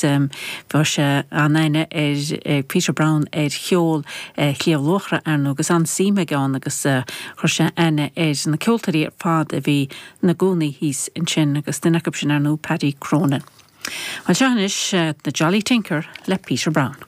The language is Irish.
bheadh sé an-aithne ar Peter Browne ar cheol Shliabh Luachra, ar ndóigh, agus an-suim aige ann agus chuir sé aithne ar na ceoltóirí ar fad a bhí ina gcónaí thíos ansin agus duine acu sin, ar ndóigh, Paddy Cronin. Bhuel, seo anois The Jolly Tinker le Peter Browne.